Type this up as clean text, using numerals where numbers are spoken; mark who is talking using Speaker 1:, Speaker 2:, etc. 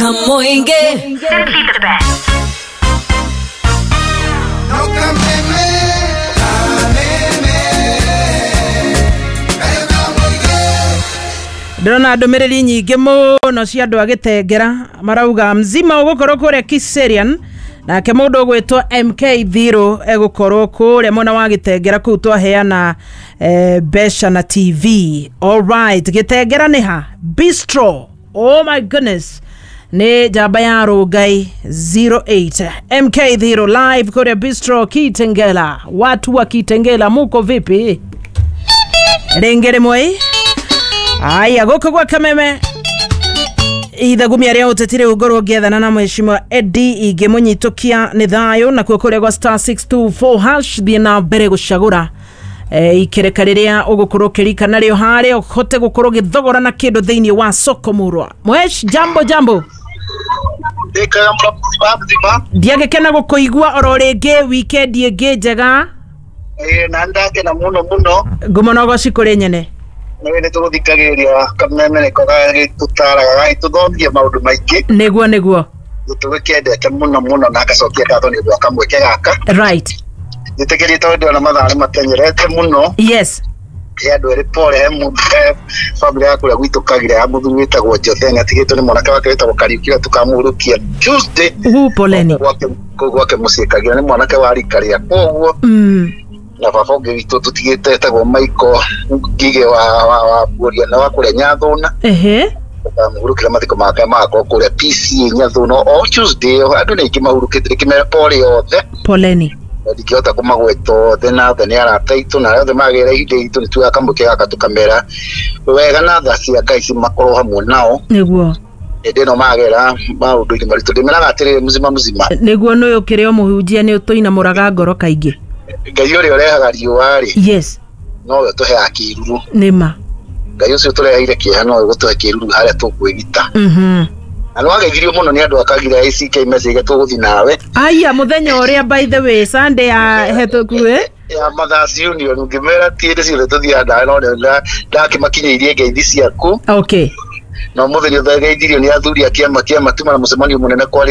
Speaker 1: Kamoinge.
Speaker 2: Simply the best.
Speaker 3: Ndĩrona ndũmĩrĩri nyingĩ mũno cia andũ a Gĩtengera marauga mzima ũgũkorwo kũrĩa Kiserian, nake mũndũ ũgwĩtwo MK Thiro egũkorwo kũrĩa mwena wa Gĩtengera kũu twaheana mbeca na TV. Alright, Gĩtengera nĩ ha? Bistro. Oh my goodness, nĩ njamba ya Rũngai 08 MK Thiro live kũrĩa Bistro Kitengela. Watu wa Kitengela muko vipi? Rĩngĩ rĩmwe. Aya, gũkũ gwa Kameme ithagumia rĩa ũteti rĩu ngorwo ngĩethana na mheshimiwa Eddie ingĩmũnyitũkia nĩ thayũ, nakuo kũrĩa gwa star 624 hash thiĩ na mbere gũcagũra ikereka rĩrĩa ũgũkorwo ũkĩrika narĩo harĩa ũhote gũkorwo ũgĩthogora na kĩndũ thĩinĩ wa soko murwa. Mwesh, jambo jambo.
Speaker 4: Ndikaga mzima mzima.
Speaker 3: Ndiagĩkena gũkũigua oro rĩngĩ, weekend ĩngĩ njega.
Speaker 4: Na ndakena muno muno.
Speaker 3: Ngumo na ũgoci kũrĩ nyene.
Speaker 4: Nĩ nĩ tũgũthikagĩrĩria Kameme nĩko gagĩtũtaraga gagĩtũthomithia maũndũ maingĩ.
Speaker 3: Nĩguo nĩguo.
Speaker 4: Tũgĩkĩendete mũno mũno na ngacokia ngatho nĩ ũndũ wa kamweke gaka.
Speaker 3: Right.
Speaker 4: Njĩtĩkĩrie tondũ ndĩrona mathaa nĩ matenyerete mũno.
Speaker 3: Yes.
Speaker 4: He andũ erĩ pole, he mũndũ, he bamĩrĩ ya kũrĩa gwitũ Kagire ya mũthuri wĩtagwo Jothe nĩ atigĩtwo nĩ mwanake wake wĩtagwo Kariũki ũrĩa tũkamũhurũkia Tuesday.
Speaker 3: Uhu, poleni.
Speaker 4: Kũu gwake mũciĩ Kagire nĩ mwanake wa rika rĩakwa ũguo. Na baba ũngĩ witũ tũtigĩte etagwo Michael Ngige wa Mburia na wa kũrĩa Nyathũna.
Speaker 3: Ehe.
Speaker 4: Tũkamũhurũkĩra mathiko make magakorwo kũrĩa PCA Nyathũna o Tuesday ĩyo. Andũ nĩ aingĩ mahurũkĩte, ndĩkĩmera pole othe.
Speaker 3: Poleni.
Speaker 4: Na ndingĩhota kũmagweta othe, na othe nĩ arata aitũ na arĩa othe magĩra ihinda itũ nĩ tuoyaga kamweke gaka tũkamera wega na tha cia Ngai cimakorwo hamwe nao.
Speaker 3: Nĩguo.
Speaker 4: Hĩndĩ ĩno magera maũndũ-inĩ maritũ ndĩmeraga atĩrĩrĩ, mzima mzima.
Speaker 3: Nĩguo nĩ ũkĩrĩ o mũhunjia nĩ ũtũinamũraga ngoro kaingĩ.
Speaker 4: Ngai ũrĩa ũrehaga riũa rĩ,
Speaker 3: Yes.
Speaker 4: nowe ũtũheaga kĩruru.
Speaker 3: Nĩma.
Speaker 4: Ngai ũcio ũtũreheire kĩeha nowe ũgũtũhe kĩruru harĩa tũkwĩgita. Na nĩwageithirio mũno nĩ andũ a Kagire ACK message tũgũthiĩ nawe.
Speaker 3: Aya, mũthenya ũrĩa by the way Sunday ya hetũku
Speaker 4: Ya Mothers Union ngĩmera ti hĩndĩ ciothe tũthiaga nawe, no nĩ ndakĩmakinyĩirie ngeithi ciaku.
Speaker 3: Okay.
Speaker 4: Na ũmũthĩ nĩ ũthageithirio nĩ athuri a kĩama kĩa Matuma na mũcemanio mũnene kwarĩ